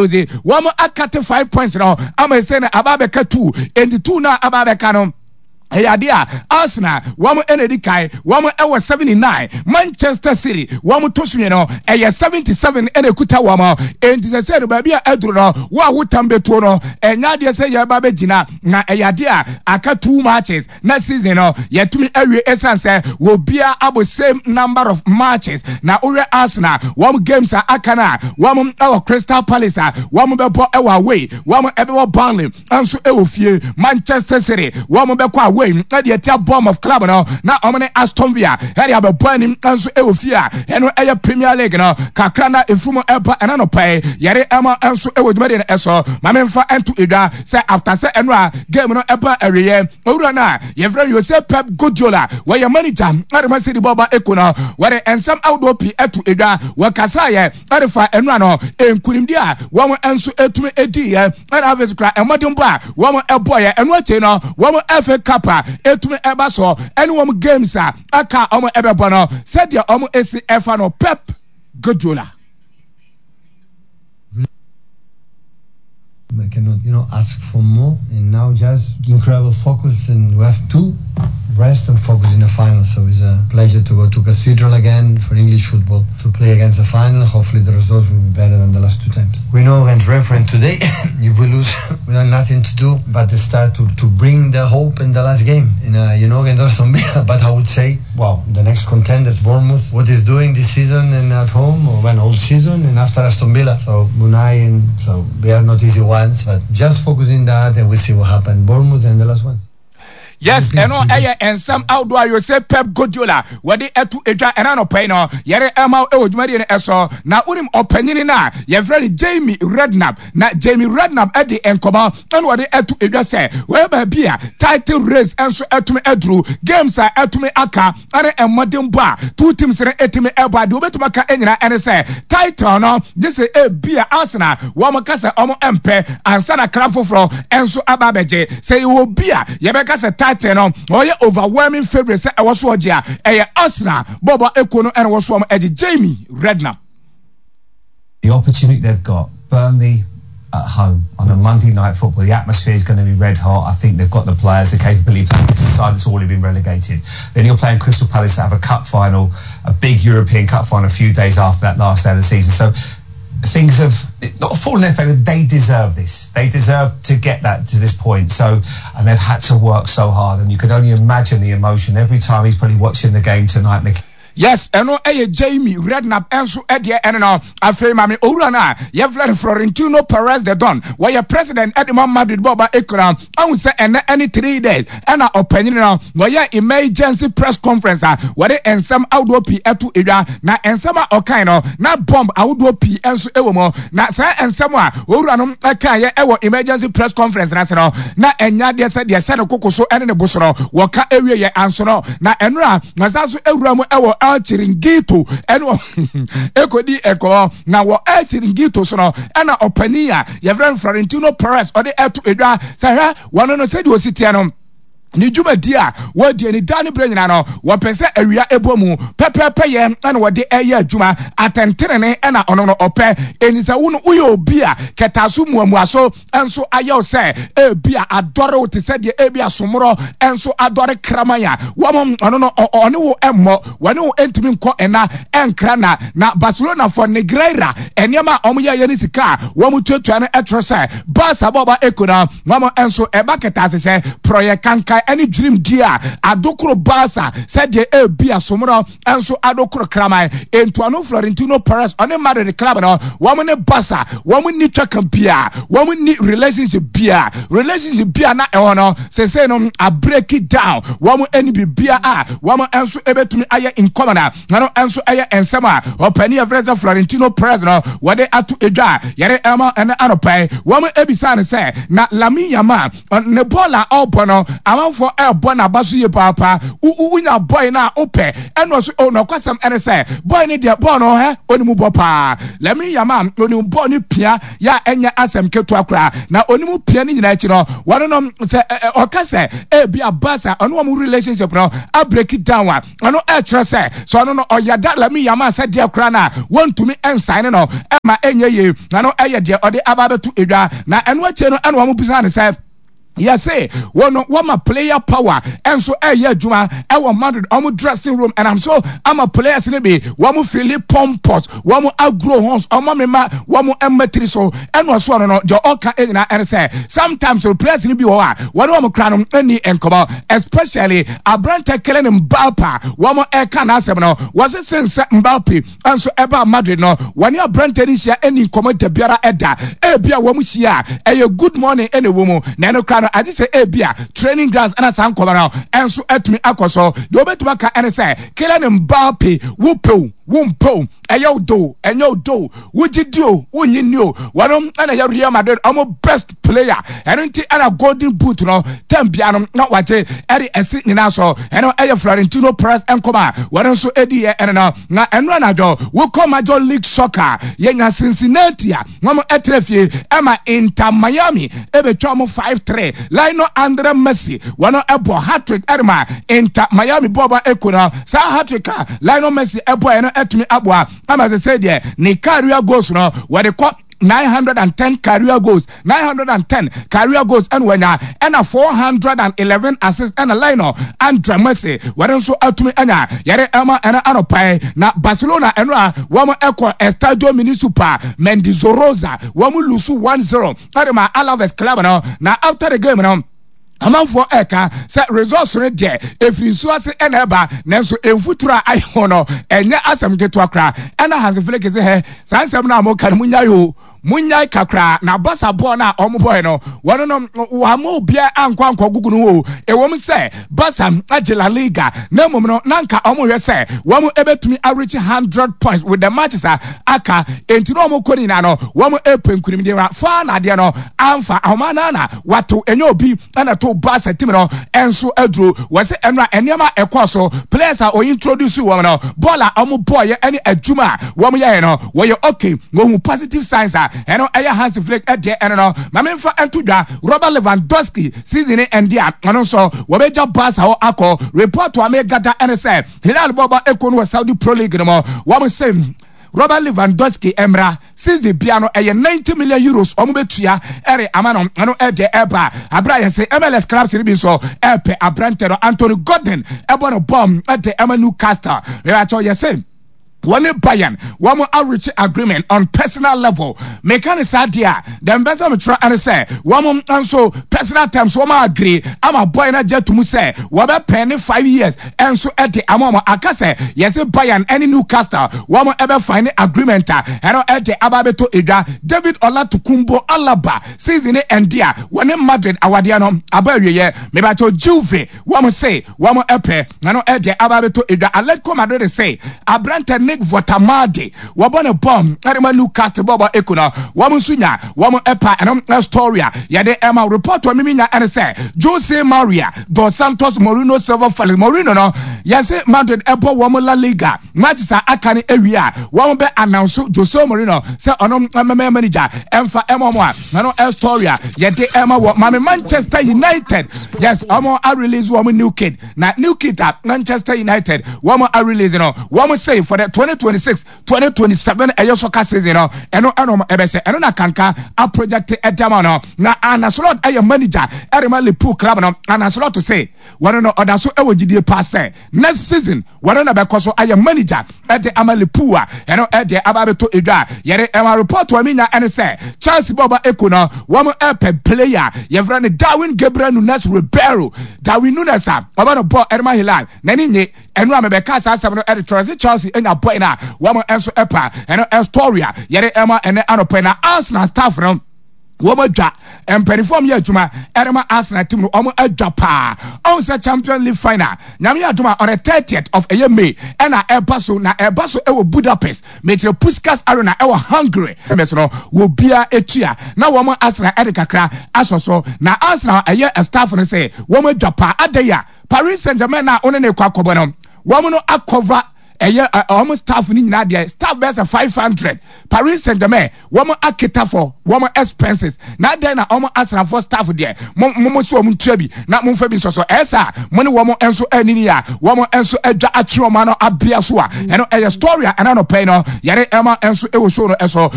Ɔdze wɔn akate 5 points no ama ɛsɛ no aba abɛka two, enti two no a aba abɛka no, ɛyɛ adeɛ a Arsenal wɔn ɛna edi kan, wɔn ɛwɔ 79. Manchester City wɔn to so mmienu, ɛyɛ 77 ɛna ekuta wɔn. Enti sɛ no baabi a aduru no, wɔn a wotam bɛtuo no, ɛnyɛ adeɛ sɛ yɛba bɛgyina, na ɛyɛ adeɛ a aka two matches na season no yɛtumi awie, ɛsiane sɛ wɔbia abɔ same number of matches. Na wohwɛ Arsenal wɔn games a aka no a, wɔn ɛwɔ Crystal Palace a wɔn bɛbɔ ɛwɔ away, wɔn ɛbɛwɔ Burnley nso ɛwɔ fie. Manchester City wɔn bɛkɔ away ɛde ɛtia Bournemouth club no, na wɔn ne Aston Villa ɛde abɛbɔ anim nso ɛwɔ fie a ɛno ɛyɛ Premier League no kakra na efu ɛba ɛna no pɛɛ yɛre ɛma nso ɛwɔ dwumadie no ɛso. Maame nfa ɛnto edwa sɛ after sɛ ɛno a game no ɛba awieɛ, owura no a yɛfrɛ Jose Pep Guardiola, wɔyɛ manager ɛde ma City bɔba eko no, wɔde nsɛm ahodoɔ pii ɛto edwa. Wɔkasa yɛ ɛde fa ɛnura no nkunimdi a wɔn nso etumi edi yɛ, ɛna afei kora ɛmɔdenbɔ a wɔn ɛbɔ yɛ. Ɛno akyi no, wɔn FA Cup a etumi ɛba so ɛne wɔn games a aka a wɔn ɛbɛbɔ no, sɛdeɛ wɔn esi ɛfa no, Pep Guardiola. I cannot ask for more. And now just incredible focus, and we have to rest and focus in the final. So it's a pleasure to go to Cathedral again for English football to play against the final. Hopefully the results will be better than the last two times. We know against Renfrew today, if we lose, we have nothing to do but to start to bring the hope in the last game. In against Aston Villa. But I would say, wow, the next contenders, Bournemouth, what is doing this season and at home, or when all season and after Aston Villa. So Unai and so they are not easy ones, but just focus in that and we see what happens. Bournemouth and the last one. Yes, ɛno ɛyɛ nsɛm ahodoɔ a Jose Pep Guardiola wɔde ɛto edwa ɛna nɔpɛ yi no yɛre ɛma ɛwɔ dwumadie no ɛso. Na wonim ɔpanyini no a yɛfrɛ no Jamie Redknapp, na Jamie Redknapp ɛde nkɔmɔ ɛna wɔde ɛto edwa sɛ wɔyɛ baabi a title race ɛnso ɛtumi ɛduru, games a ɛtumi aka ɛne mmɔdenbɔ a two teams no ɛtumi ɛbɔ adeɛ wobɛtumi aka ɛnyina ɛne sɛ title no gye sɛ ebi a Arsenal wɔn kasa wɔn mpɛ ansa na kra foforɔ ɛnso aba abɛgye. Sɛ yɛwɔ bi a yɛbɛka sɛ title no ɔyɛ overwhelming favourite sɛ ɛwɔ so ɔgye a, ɛyɛ Arsenal bɔɔbɔ ekuo no ɛna ɛwɔ so wɔn ɛgye. Jamie Redknapp. The opportunity they've got, Burnley at home on a Monday Night Football, the atmosphere is going to be red hot. I think they've got the players, the capability. It's a side that's already been relegated. Then you're playing Crystal Palace that have a cup final, a big European Cup final, a few days after that last day of the season. So things have not fallen in their favour. They deserve this. They deserve to get that to this point. So, and they've had to work so hard. And you can only imagine the emotion every time he's probably watching the game tonight, Mickey. Yes, ɛno ɛyɛ Jamie Redknapp ɛnso ɛdeɛ ɛno no. Afei maame owura no a yɛfrɛ no Florentino Perez de Don, wɔyɛ president ɛde ma Madrid bɔɔba ekura ahu sɛ ɛnɛ ɛne 3 days ɛna ɔpanyin no wɔyɛ emergency press conference a wɔde nsɛm ahodoɔ pii ɛto edwa. Na nsɛm a ɔkan no na bomb ahodoɔ pii ɛnso ɛwɔ mu. Na saa nsɛm a owura no ɛkan yɛ ɛwɔ emergency press conference n'ase no, na ɛnya deɛ sɛ deɛ hyɛ ne koko so ɛne ne bo so no wɔka ewie yɛ anso no. Na ɛnora na san so ewura mu ɛwɔ El Chiringuito ɛne ekodi ɛkɔɔ. Na wɔ El Chiringuito so no, ɛna ɔpanin a yɛfrɛ no Florentino Perez ɔde ɛto edwa sɛ hwɛ, wɔn no sɛdeɛ osi teɛ no, ne dwumadi a wɔdi ani da ne berɛ nyinaa no, wɔpɛ sɛ awia ɛbɔ mu pɛpɛɛpɛ yɛ ɛna wɔde ɛyɛ adwuma atɛntenene, ɛna ɔno no ɔpɛ ɛni sɛ wo no woyɛ obi a kɛtaaso muamua so nso ayɛ wo sɛ ebi a adɔre wo te sɛ deɛ ebi asomorɔ nso adɔre kraman a wɔn ɔno no ɔne wo mmɔ, wɔne wo ntumi nkɔ ɛna ɛnkra. Na Barcelona for Negreira nneɛma a wɔn yɛ yɛ ne sika a wɔn tuatua no ɛtwerɛ sɛ Barca bɔba eko no wɔn nso ɛba kɛtɛ ase sɛ prɔyɛ kankan ɛne dwirim di a adokoro Barca sɛdeɛ ebi asomorɔ nso adokoro kraman. Ntuano Florentino Perez ɔne Madrid club no, wɔn ne Barca wɔn ni twaka bia, wɔn ni relationship bia, relationship bia na ɛwɔ no sese no a break it down. Wɔn ani bibia a wɔn nso ebetumi ayɛ nkɔmɔ na ɛno nso ɛyɛ nsɛm a ɔpanin yɛfrɛ sɛ Florentino Perez no wɔde ato edwa a yɛde ɛma ɛne anɔpɛ. Wɔn ebisa no sɛ na Lamine Yamal ne bɔɔl a ɔrebɔ no amanfoɔ Amanfoɔ ɛrebɔ n'aba so yie paapa. Wonya boy no a wopɛ. Ɛna ɔso oh nɔkwasɛm ɛne sɛ boy no deɛ bɔɔl no hɛ ɔnim bɔ paa. Lamine Yamal ɔnim bɔɔl no pia yɛ a ɛnyɛ asɛm ketewa koraa. Na ɔnim pia no nyinaa akyi no wɔno no sɛ ɔka sɛ ebi a Barca ɔne wɔn relationship no a break it down a ɛno ɛkyerɛ sɛ sɛ ɔno no ɔyɛ da Lamine Yamal sɛ deɛ koraa no a wɔntumi nsan no ɛma ɛnyɛ yie. Na no ɛyɛ deɛ ɔde aba abɛto edwa. Na ɛno akyire no ɛna wɔn bisa no sɛ yɛse wɔn no wɔma player power ɛnso ɛyɛ adwuma ɛwɔ Madrid wɔn dressing room ɛnam so ama players no bi wɔn fili pompous wɔn agro horns wɔn mema wɔn mmatiri so ɛna ɔso ɔno no deɛ ɔka nyinaa ɛne sɛ sometimes players no bi wɔ hɔ a wɔne wɔn kora no ɛni nkɔmɔ especially aberante Kylian Mbappe wɔn ɛka n'asɛm no wɔse sen sɛ Mbappe nso ɛbaa Madrid no, wɔne aberante no nhyia ɛni nkɔmmɔ da biara ɛda. Ebi a wɔn hyia a, ɛyɛ good morning ɛna ɛwɔ mu. Na ɛno koraa no, agye sɛ ebi a training grounds ɛna saa nkɔmmɔ no ɛnso atumi akɔ so. Deɛ wɔbɛtumi aka ɛne sɛ, Kylian Mbappe, wo pɛ o, wo mpɛ o, ɛyɛ wo dɔ o, ɛnyɛ wo dɔ o, wogye di o, wonnye nni o, wɔnom ɛna ɛyɛ Real Madrid wɔn best player. Ɛno nti ɛna golden boot no tɛm bia no na wagye ɛde ɛsi nyinaa so. Ɛno ɛyɛ Florentino Perez nkɔmɔ a wɔn nso ɛdi yɛ ɛno no. Na ɛno anadwo wokɔ Major League Soccer yɛnya Cincinnati a wɔn ɛtrɛ fie ɛma Inter Miami ɛbɛtwa wɔn 5-3. Lionel Andre Messi wɔn ɛbɔ hat-trick ɛde ma Inter Miami bɔɔlbɔ ekuo no. Saa hat-trick a Lionel Messi ɛbɔɛ no ɛtumi aboa ama sɛ sɛ deɛ ne career goals no wɔde kɔ 910 career goals, 910 career goals ɛna wanya, ɛna 411 assists ɛna Lionel Andre Messi wɔde nso atumi anya. Yɛde ɛma ɛna anɔpae na Barcelona ɛno a wɔn ɛkɔ Estadio Municipal Mendizorroza wɔn lusu 1-0 ɛde ma Alaves club no. Na after the game no, amanfoɔ ɛka sɛ results no deɛ ɛfiri nsuo ase ɛna ɛba, nanso mfuturo a ayɛ ho no ɛnyɛ asɛm ketewa koraa. Ɛna Hansi Flick sɛ hɛ saa nsɛm no a moka no monyae o, monyae kakraa. Na Barca bɔɔl no a wɔn bɔɔl no wɔn no wɔama obiara ankɔ ankɔ gugu no o. Ɛwɔm sɛ Barca agye La Liga, na mmom no na nka wɔn hwɛ sɛ wɔn ɛbɛtumi areach 100 points with the matches a aka, enti na wɔn kɔ ne nyinaa no wɔn ɛpɛ nkunimdie na faa na adeɛ no amfa ahoma no na wato ɛnyɛ obi ɛna to Barca team no ɛnso aduro. Wɔsɛ ɛno a nneɛma a ɛkɔɔ so, players a wɔyi introduce wɔn no, bɔɔl a wɔn bɔɔyɛ ɛne adwuma a wɔn yɛɛ no wɔyɛ okay, wɔhu positive signs a ɛno ɛyɛ Hansi Flick ɛdeɛ ɛno no. Ma memfa ɛnto dwa, Robert Lewandowski season ne ɛnde a ɔno nso wɔbɛgya Barca hɔ akɔ. Report a megada ɛne sɛ Hilal bɔɔlbɔ ekuo no wɔ Saudi Pro League no mu wɔn sɛ Robert Lewandowski mmra season bia no ɛyɛ 90 million euros wɔn bɛtua ɛre ama no. Ɛno ɛde ɛba abira yɛ sɛ MLS clubs no bi nso ɛpɛ aberante no. Anthony Gordon ɛbɔ no bɔm ɛde ɛma Newcastle ɛbɛkyɛw yɛ sɛ wɔne Bayern wɔn areach agreement on personal level. Meka ne saa deɛ a deɛ mpɛ sɛ metwerɛ ɛne sɛ wɔn nso personal terms wɔn agree ama boy no agye atum sɛ wɔbɛpɛn ne 5 years ɛnso ɛde ama wɔn. Aka sɛ yɛsɛ Bayern ɛne Newcastle wɔn ɛbɛfa ne agreement a ɛno ɛde aba abɛtɔ edwa. David Olatokunbo Alaba season ne ɛnde a wɔne Madrid awadeɛ no aba awieɛ. Mebatɔ Juve wɔn se wɔn ɛpɛ ɛno ɛde aba abɛtɔ edwa. Atletico Madrid se aberante Nick Votamade wɔbɔ ne bɔm ɛde ma Newcastle bɔbɔ eko no wɔn nso nya wɔn ɛpa. Ɛno story a yɛde ɛma report a mimi nya ɛne sɛ Jose Maria dos Santos Mourinho Silva Felix Mourinho no yɛse Madrid ɛbɔ wɔn La Liga matches a aka no awie a wɔn bɛ announce Jose Mourinho sɛ ɔno mmɛmɛ manager ɛmfa ɛma wɔn a ɛno story a yɛde ɛma wɔ maame Manchester United. Yes, wɔn a release wɔn new kid, na new kid a Manchester United wɔn a release no wɔn say for the 2026-2027 ɛyɛ soccer season no ɛno ɛno ɛbɛsɛ ɛno na kanka a project ɛdama no. Na Arne Slot ɛyɛ manager ɛrema Liverpool club no. Arne Slot say wɔn no ɔda so ɛwɔ gyidie paa sɛ next season wɔn na bɛkɔ so ayɛ manager ɛde ama Liverpool a ɛno ɛde aba abɛtɔ edwa. Yɛde ɛma report wɔn nya ɛne sɛ Chelsea bɔɔbɔ eko no wɔn ɛpɛ player yɛfrɛ no Darwin Gabriel Nunes Ribeiro. Darwin Nunes a ɔbɛ no bɔɔl ɛde ma Hilal n'ani nye ɛno a mebɛka saa asɛm no ɛde kyerɛ sɛ Chelsea anya boy no a wɔn nso ɛpa ɛno ɛstory a yɛde ɛma ɛnɛ anɔpɛ. Na Arsenal staff no Wɔn adwa mpanimfoɔ a wɔyɛ adwuma ɛde ma Arsenal team no, wɔn adwa paa. Ɔn sɛ Champions League final, Nyame yɛ adom a, on the 30th of ɛyɛ May ɛna ɛba so, na ɛba so ɛwɔ Budapest, mekyerɛ Puskas Arena ɛwɔ Hungary. Mɛs no wɔ bia etua na wɔn Arsenal ɛde kakra asɔ so, na Arsenal ɛyɛ staff no sɛ wɔn adwa paa. Adɛn a Paris Saint-Germain na wɔne ne kɔ akɔbɔ no, wɔn no akɔva ɛyɛ wɔn staff no nyinaa deɛ, staff bɛyɛ sɛ 500. Paris Saint-Germain wɔn aketa for wɔn expenses, na adɛn na wɔn asrafoɔ staff deɛ, mo mo so wɔn ntua bi na mo nfa bi nsɔsɔ ɛsɛ a mo ne wɔn nso anini a wɔn nso adwa atwe wɔn ano abea so a, ɛno ɛyɛ story a ɛna no pɛn no yɛre ɛma nso ɛwɔ show no ɛso.